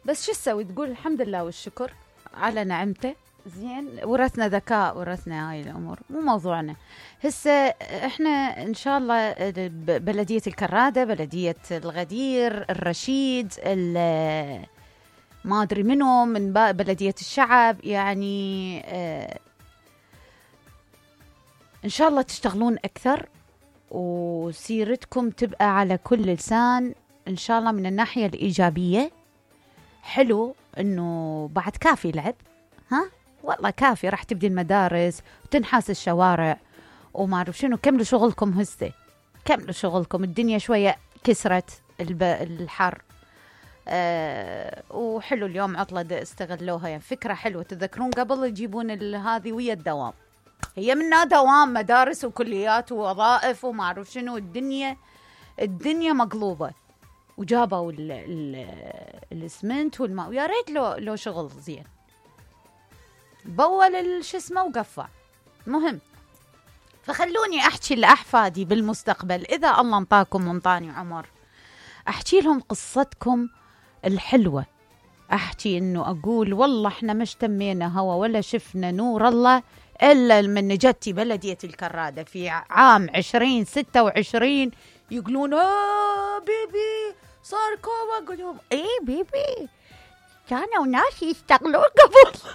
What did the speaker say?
بس شو تسوي؟ تقول الحمد لله والشكر على نعمته. زين، ورثنا ذكاء، ورثنا هاي الأمور، مو موضوعنا هسه. احنا إن شاء الله بلدية الكرادة، بلدية الغدير، الرشيد، ما أدري منو من بلدية الشعب، يعني إن شاء الله تشتغلون أكثر وسيرتكم تبقى على كل لسان إن شاء الله. من الناحية الإيجابية حلو إنه بعد كافي لعب، ها والله كافي، راح تبدي المدارس وتنحاس الشوارع وما أعرف شنو. كملوا شغلكم هسه، كملوا شغلكم، الدنيا شوية كسرت الحر. وحلو اليوم عطلة استغلوها، يعني فكرة حلوة. تذكرون قبل يجيبون هذه ويا الدوام، هي منا دوام مدارس وكليات ووظائف وما أعرف شنو، الدنيا مقلوبة. وجابوا الاسمنت والماء، ويا ريت لو شغل زين، بول شو اسمه وقفع. مهم، فخلوني احكي لاحفادي بالمستقبل اذا الله انطاكم وانطاني عمر، احكي لهم قصتكم الحلوة. احكي انه اقول والله احنا ما اشتمينا هوا ولا شفنا نور الله الا من جتي بلدية الكرادة في عام 2026. يقولون بيبي صار كوما. اقول لهم ايه بيبي، كانوا ناس يشتغلون قبل